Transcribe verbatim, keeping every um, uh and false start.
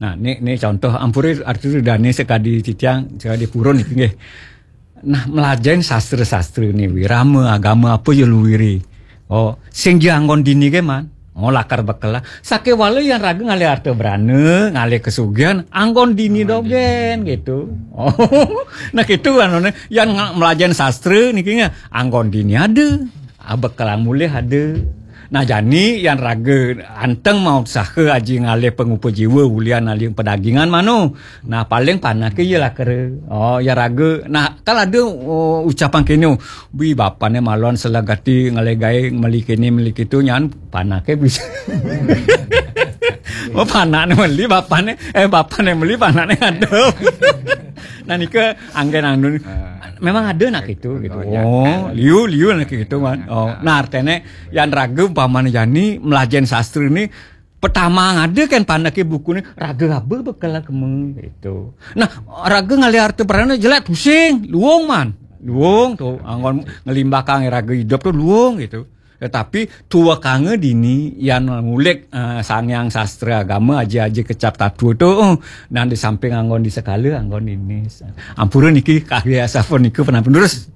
Nah, ini, ini contoh ampure arti dane sekadi titiang, sekadi purun iki nggih. Nah, melajahin sastra-sastra ini, wirama, agama apa ya luwiri. Oh, sing dia anggon dini ke man. Oh, lakar bekel lah. Sakewala yang raga ngalih harta berana, ngalih kesugihan, anggon dini dogen gitu. Oh, nah gitu kan, yang melajahin sastra niki nggih, anggon dini ada. Ah, bekelang mulih ada. Nah, jani yang raga anteng mau usaha aji ngalih pengupa jiwa ulian alih pedagingan mano. Nah, paling panake ya lah kere. Oh, ya raga. Nah, kan ada oh, ucapan kene, "Bi bapane malon selegati ngalih gae meli kene meli kitu nyan panake bisa." Oh, panakne meli bapane eh bapane meli panakne ada. Nah, nika anggen anu memang ada nak itu gitu. Oh, liu liu nak gitu kan. Oh, nah artene yang raga umpamane jani melajen sastra ini pertama ada kan panake buku ni raga apa bekal keme gitu. Nah, raga ngalih harta berana jelek pusing, luung man. Luung tuh anggon ngelimbakang raga hidup tuh luung gitu. Tetapi tuwekanga dini yang ngulik uh, sangyang sastra agama aja-aja kecap tatu tuh uh, nah di samping anggon di sekala anggon ini. Ampura niki kagak asal niku pernah penerus.